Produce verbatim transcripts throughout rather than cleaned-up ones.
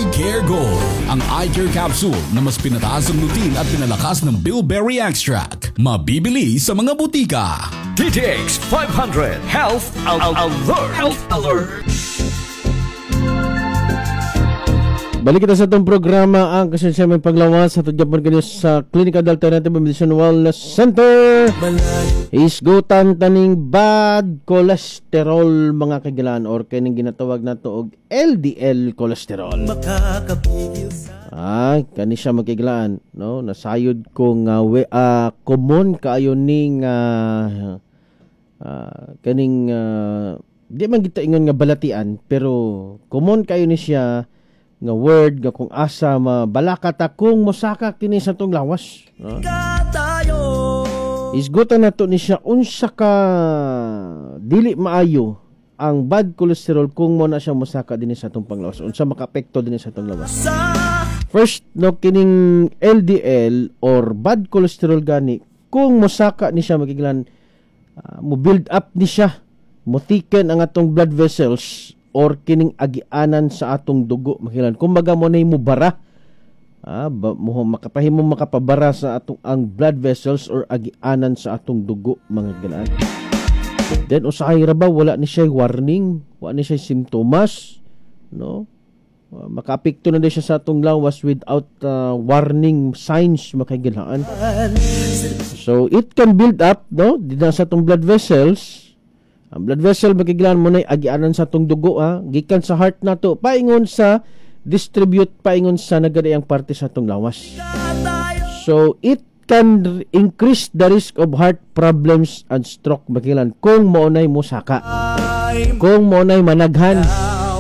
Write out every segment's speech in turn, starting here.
Eye Care Gold. Ang eye care capsule na mas pinataas ang lutein at pinalakas ng bilberry extract. Mabibili sa mga butika. D T X five hundred Health Al- Alert. Health Alert. Balik kita sa itong programa, ang kasensya may paglawas sa tudyapon kanyo sa Clinical Alternative Medicine Wellness Center. Isgutan taning bad cholesterol, mga kagilan, or kining ginatawag nato og L D L cholesterol. Ay, kani siya, makigilaan, no? Nasayod ko nga we, ah, common kaayo ning ah, ah, kaning ah, di man kita ingon nga balatian, pero common kayo ni siya nga word nga kung asa mabalaka ta kung mosaka kini sa tong lawas, no? Isgutan nato ni siya unsa ka dili maayo ang bad cholesterol kung mo na siya mosaka dinhi sa atong panglawas, unsa makaapekto dinhi sa atong lawas. First, no, kining L D L or bad cholesterol gani, kung mosaka ni siya, magiglan, uh, mo build up ni siya, mo thicken ang atong blood vessels or kining agianan sa atong dugo, makilan. Kumbaga mo na mo bara, ah, ba, mo makapahimo makapabara sa atong ang blood vessels or agianan sa atong dugo, mga galaan. Then usahay ra ba wala ni siya warning, wala ni siya simptomas, no? Uh, makaapekto na din siya sa atong lawas without uh, warning signs, makagilaan. So it can build up, no, dinha sa atong blood vessels. Ang blood vessel, makigilaan, mo na agianan sa atong dugo, ha, gikan sa heart nato paingon sa distribute paingon sa nagadaiyang parte sa atong lawas. So it can r- increase the risk of heart problems and stroke, makigilaan, kung maunay mo saka. Kung maunay managhan,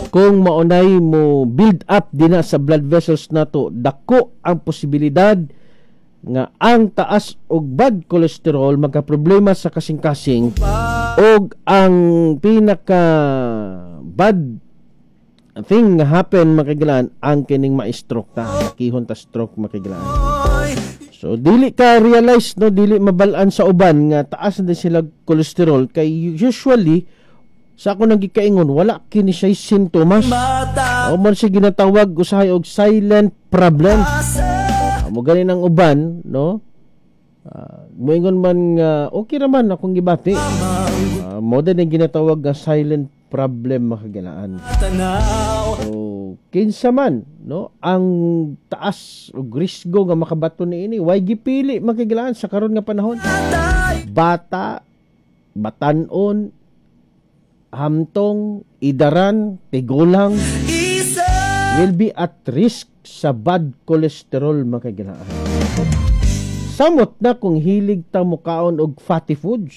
kung maunay mo build up dinha sa blood vessels nato, dako ang posibilidad nga ang taas og bad cholesterol, magka problema sa kasing-kasing og ang pinaka bad thing nga happen, makigilaan, ang kining ma-stroke ta, makihon ta stroke, makigilaan. So dili ka realize, no, dili mabal-an sa uban nga taas na din sila cholesterol kay usually sa ako nang gikaingon, wala kini siya sintomas o man siya ginatawag usahay og silent problem. Ah, mo gani ng uban, no, uh, moingon man nga okay ra man akong gibati. Uh, mo din ang ginatawag nga silent problem, makagilaan. So kinsa man, no, ang taas og risgo nga makabato niini, way gipili, makigilaan, sa karon nga panahon. Bata, batanon, hamtong, idaran, tigulang will be at risk sa bad cholesterol, makagilaan. Samot na kung hilig ta mukaon og fatty foods,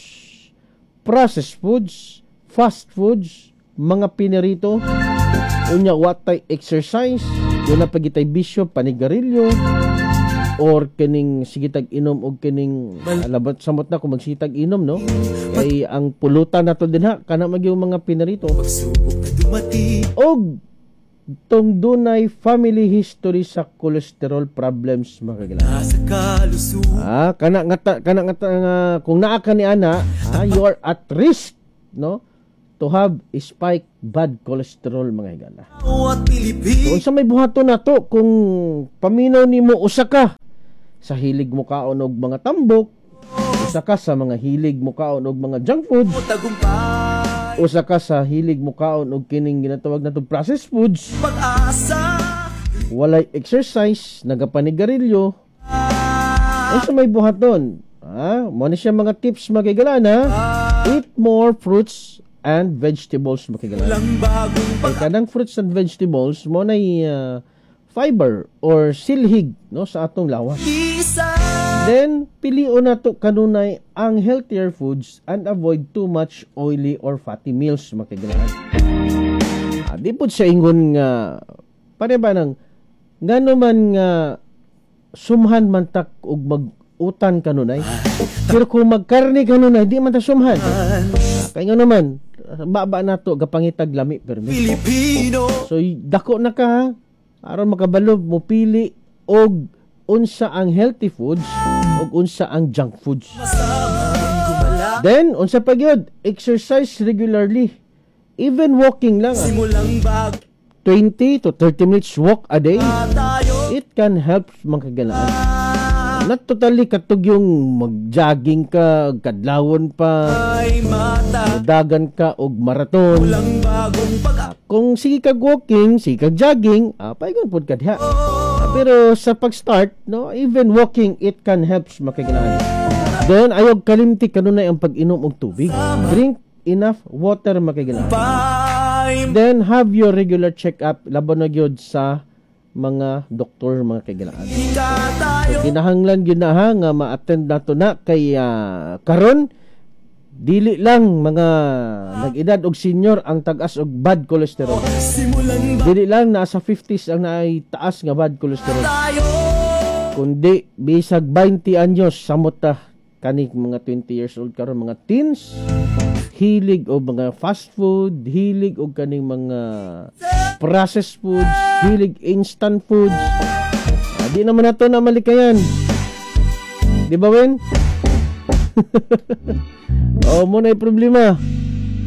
processed foods, fast foods, mga pinirito, unya watay exercise, duna pa gitay bisyo, panigarilyo, or kining sige tag inom og kining alabat. Samot na kung magsitag inom, no, kay ang pulutan nato dinha kana magyung mga pinarito og tong dunay family history sa cholesterol problems, makagila. Ah, kana nga ta- kana nga, ta- nga kung naa ka ni ana, ah, you are at risk, no, to have a spike bad cholesterol, mga higala. So unsa may buhaton nato kung paminaw nimo usa ka sa hilig mo kaon og mga tambok, usa ka sa mga hilig mo kaon og mga junk food, usa ka sa hilig mo kaon og kining ginatawag nato processed foods, walay exercise, nagapanigarilyo, unsa may buhaton? Ah, mo ni siya mga tips, makigala na. Eat more fruits and vegetables, makigala. Kay kanang fruits and vegetables mo na fiber or silhig, no, sa atong lawas. Then pilion nato kanunay ang healthier foods and avoid too much oily or fatty meals, makigalaan. Ah, di pod sa ingon nga pare ba nang ngano man nga sumhan man tak og mag-utan kanunay. Pero kung magkarne kanunay, di man ta sumhan. Ah, kay nga naman baba nato gapangitag lami permi. Pilipino. So y- dako na ka, ha? Aron makabalo mo pili og unsa ang healthy foods ug unsa ang junk foods. Then unsa pa gyud, exercise regularly. Even walking lang. Ah. Simulang bag twenty to thirty minutes walk a day, it can help, mga kahigalaan. Not totally katog yung mag-jogging ka, kadlawon pa, dagan ka og marathon. Ah, kung sige kag walking, sige kag jogging, ah, paigon pod ka diha. Ah, pero sa pag-start, no, even walking, it can help, mga kahigalaan. Then, ayaw kalimti kanunay ang pag-inom og tubig. Drink enough water, mga kahigalaan. Then, have your regular check-up, laban na gyud sa mga doktor, mga kahigalaan. So, kinahanglan gyud na ha nga ma-attend nato na kay ah, karon dili lang mga nag-edad og senior ang tag-as og bad cholesterol. Dili lang nasa fifties ang naay taas nga bad cholesterol. Kundi bisag twenty anyos, samot ta kani mga twenty years old karon, mga teens, hilig og mga fast food, hilig og kaning mga processed foods, hilig instant foods. Ah, di naman nato na malikayan. Di ba, Wen? Oh, mo na problema.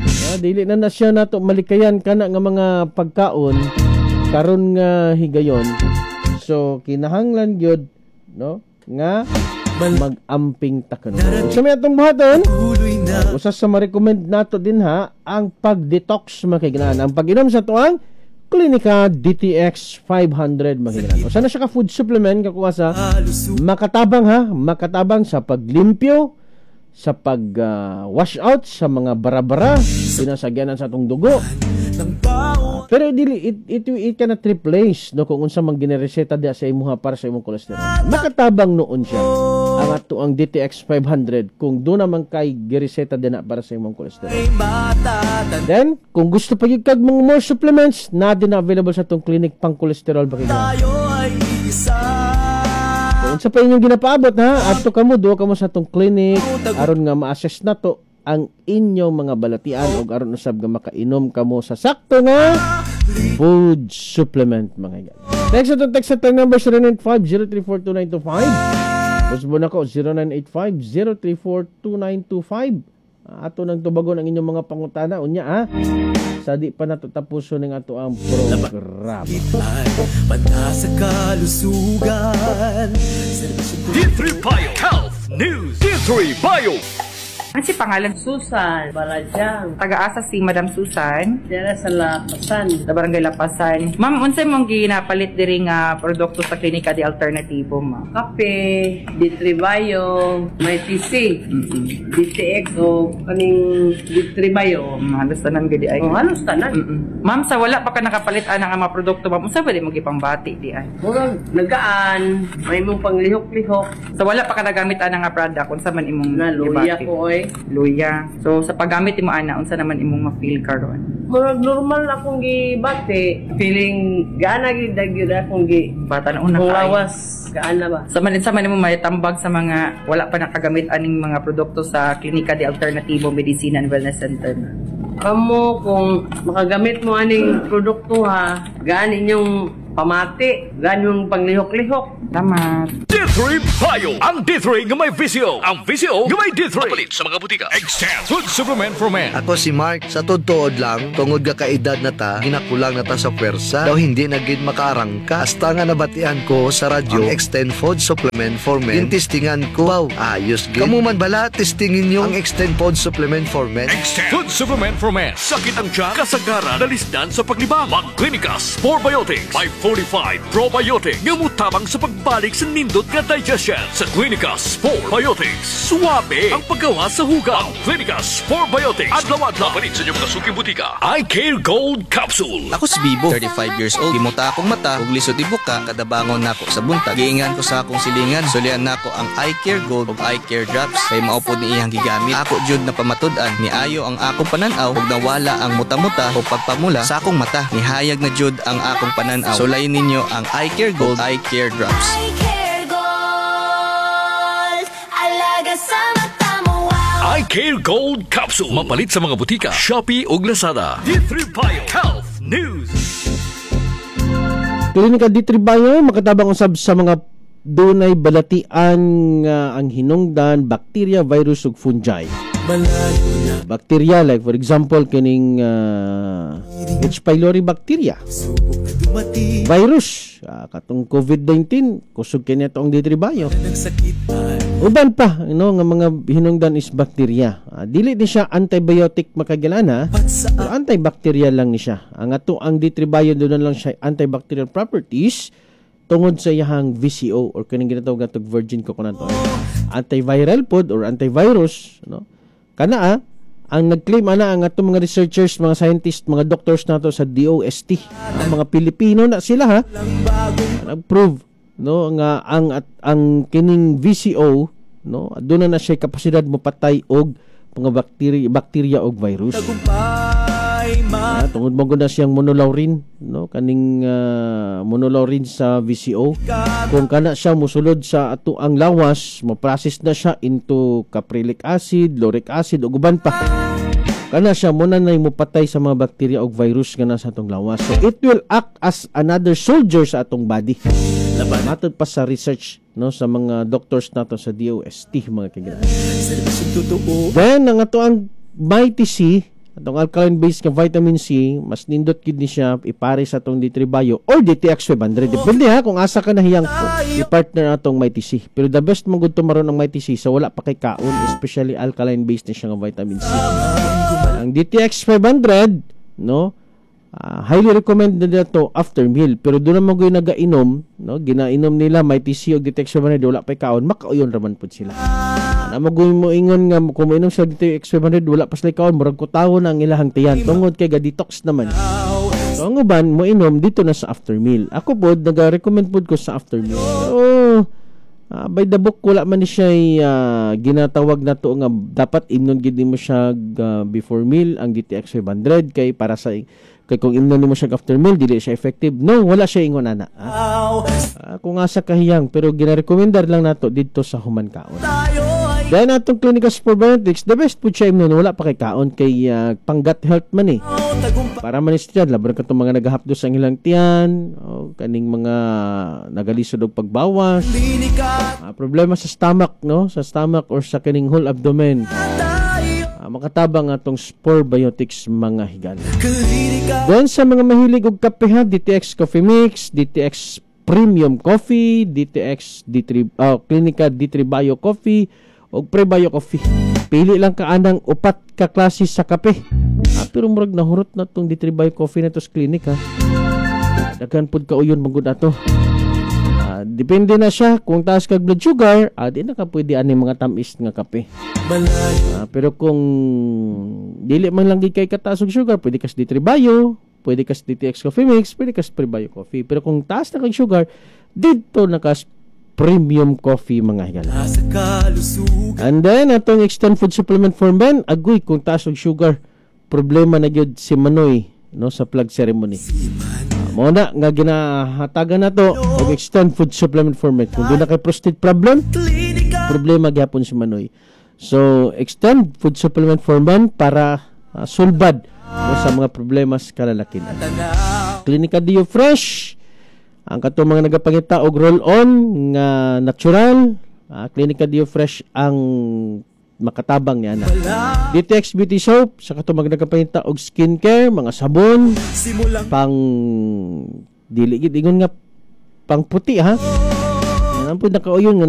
Ah, dili na na siya nato malikayan kana nga mga pagkaon karon nga higayon. So kinahanglan gyud, no, nga mag-amping ta kuno. Sa may atong buhaton, usa sa ma-recommend nato din ha, ang pag-detox, mga kahigalaan. Ang pag-inom sa tuang Klinika D T X five hundred, mga kahigalaan. Usa na siya ka food supplement kakuha sa makatabang ha, makatabang sa paglimpyo, sa pag ah, wash out sa mga bara-bara pinasagyanan sa atong dugo. Pero dili it, it, it cannot replace, no, kung unsa man ginereseta diha sa imuha para sa imong cholesterol. Makatabang noon siya ang ato ang D T X five hundred kung do naman kay gireseta din na para sa imong cholesterol. Then, kung gusto pa gyud kag mga more supplements, na din na available sa atong clinic pang cholesterol ba kay. Kung unsa pa inyong ginapaabot ha, adto kamo, duwa kamo sa atong clinic aron nga ma-assess nato ang inyong mga balatian ug aron usab nga makainom kamo sa sakto nga food supplement, mga higala. Text atong text sa number zero nine five, zero three four, two nine two five. Usbo na ko zero nine eight five, zero three four, two nine two five. Ato nang tubagon ang inyong mga pangutana unya ha. Sa di pa nato tapuson ning ato ang programa. Banta sa kalusugan. D three Bio Health News. D three Bio. Ano si pangalan? Susan Barajang. Taga-asa si Madam Susan? Dira sa Lapasan. Sa Barangay Lapasan. Ma'am, unsay mong ginapalit diri nga produkto sa Klinika de Alternatibo, ma'am? Kape, D three Bio, may T C, D T X o kaning D three Bio. Mm, halos tanan gid ay. Oh, halos tanan. Mm-mm. Ma'am, sa wala pa ka nakapalit ana nga mga produkto, ma'am, unsa ba di mo gipambati di ay? Murag nagaan, may mong panglihok-lihok. Sa wala pa ka nagamit ana nga product, unsa man imong Na luya gibati? ko oy. Luya. So sa paggamit mo ana, unsa naman imong ma-feel karon? Murag normal akong gibati. Feeling gaana gid gyud akong gi Bata na una kung ka. lawas gaana ba. Sa man sa man mo may tambag sa mga wala pa nakagamit aning mga produkto sa Klinika de Alternatibo Medicina and Wellness Center, ma'am? Kamo kung makagamit mo aning produkto ha, gaan inyong pamati, gaan yung panglihok-lihok. Salamat. D three Bio. Ang D three nga may V C O. Ang V C O nga may D three. Palit sa mga butika. Extend Food Supplement for Men. Ako si Mark, sa tuod lang, tungod ga kaedad na ta, ginakulang na ta sa pwersa, daw hindi na gid makaarangka. Hasta nga nabatian ko sa radyo, ang Extend Food Supplement for Men, gintistingan ko, wow, ayos gid. Kamu man bala, testingin nyo ang Extend Food Supplement for Men. Extend Food Supplement for Men. Sakit ang tiyan, kasagaran, dalisdan sa paglibang. Mag-Clinica Spore Biotics. May forty-five probiotic nga mutabang sa pagbalik sa nindot nga digestion. Sa Clinica Spore Biotics. Suwabe ang paggawa sa hugaw. Ang Clinica Spore Biotics. Adlaw-adlaw. Palit sa inyong mga suking butika. Eye Care Gold Capsule. Ako si Bibo, thirty-five years old. Gimuta akong mata, ug lisod ibuka kada bangon nako sa buntag. Giingan ko sa akong silingan, sulian nako ang Eye Care Gold ug Eye Care Drops kay mao pod ni iyang gigamit. Ako jud na pamatud-an ni ayo ang akong pananaw ug nawala ang muta-muta o pagpamula sa akong mata. Nihayag na jud ang akong pananaw. Sulayin ninyo ang Eye Care Gold, Eye Care Drops. Eye Care Gold. Alaga sa mata mo, wow. Eye Care Gold Capsule. Mapalit sa mga butika, Shopee ug Lazada. D three Bio Health News. Klinika D three Bio makatabang usab sa mga dunay balatian nga ang hinungdan bakterya, virus ug fungi. Malayo na. Bacteria like, for example, kining uh, H. pylori bacteria. Subok na dumating. Virus, uh, katong COVID nineteen, kusog kini atong D three Bio. Ng sakit ay Uban pa, no, nga mga hinungdan is bacteria. Uh, dili ni siya antibiotic, makagilana, pero antibacterial lang ni siya. Ang ato ang D three Bio, doon lang siya antibacterial properties tungod sa iyahang V C O or kaning ginatawag natog virgin coconut oil. Antiviral pod or antivirus, no? Kana ah, ang nag-claim ana ang atong mga researchers, mga scientists, mga doctors nato sa D O S T. Ang mga Pilipino na sila ha. Nag-prove, no, nga ang at ang kining V C O, no, doon na na siya kapasidad mo patay og mga bakterya bakterya og virus. Tagumpay. Ah, tungod mo na siyang monolaurin, no, kaning uh, monolaurin sa V C O. Kung kana siya musulod sa ato ang lawas, mo-process na siya into caprylic acid, lauric acid ug uban pa. Kana siya mo na mo patay sa mga bakterya ug virus nga nasa atong lawas. So it will act as another soldier sa atong body. Matod pa sa research, no, sa mga doctors nato sa D O S T, mga kagilan. Serbisyong totoo. Then ang ato ang Mighty C, atong alkaline base nga vitamin C, mas nindot gid ni siya ipare sa atong D three Bio or D T X five hundred. Depende ha kung asa ka nahiyang i-partner atong Mighty C. Pero the best mo gud maron ang Mighty C sa wala pa kay kaon, especially alkaline base ni siya nga vitamin C. Ang D T X five hundred, no, Uh, highly recommended na to after meal, pero doon naman ko nagainom, no, ginainom nila Mighty C og D T X five hundred wala pa kaon, makauyon raman pud sila. Na mo mo ingon nga kung moinom sa D T X five hundred wala pa sila kaon, murag kutawo na ang ilahang tiyan tungod kay ga-detox naman. So ang uban mo inom dito na sa after meal. Ako pod, naga-recommend pod ko sa after meal. So uh, by the book, wala man ni siya uh, ginatawag na to nga dapat imnon gid nimo siya uh, before meal ang D T X five hundred kay para sa kay kung imnon nimo siya after meal, dili siya effective. No, wala siya ingon ana. Ah. Uh, kung asa kahiyang, pero ginarekomendar lang nato didto sa human kaon. Then atong Clinical Probiotics, the best po siya imnon wala pa kay kaon kay uh, pang gut health man eh. Para man siya laban katong mga nagahapdos ang ilang tiyan, o kaning mga nagalisod og pagbawas. Uh, problema sa stomach, no? Sa stomach or sa kining whole abdomen. Uh, makatabang atong Sporebiotics, mga higala. Then sa mga mahilig og kape ha, D T X Coffee Mix, D T X Premium Coffee, D T X D three, uh, Clinica D three Bio Coffee og Prebio Coffee. Pili lang ka anang upat ka klase sa kape. Ah, pero murag nahurot na tong D three Bio Coffee na to sa clinic ha. Daghan pud kauyon magud ato. Ah, depende na siya kung taas kag blood sugar, ah, di na ka pwede ani mga tamis nga kape. Ah, pero kung dili man lang gid kay kataas og sugar, pwede ka sa D three Bio, pwede ka sa D T X Coffee Mix, pwede ka sa Prebio Coffee. Pero kung taas na kag sugar, dito na ka sa Premium Coffee, mga higala. And then atong Extend Food Supplement for Men, agoy, kung taas og sugar, problema na gyud si Manoy, no, sa flag ceremony. Uh, mo na nga ginahatagan nato og Extend Food Supplement for Men. Kung doon na kay prostate problem, problema gyapon si Manoy. So Extend Food Supplement for Men para uh, sulbad mo sa mga problema sa kalalakihan. Clinica Dio Fresh, ang katong mga nagapangita og roll-on nga natural, uh, Clinica Dio Fresh ang makatabang niya na. D T X Beauty Soap sa katong mga nagapangita og skincare, mga sabon, pang dili gid ingon nga pang puti ha. Yan po nakauyon nga.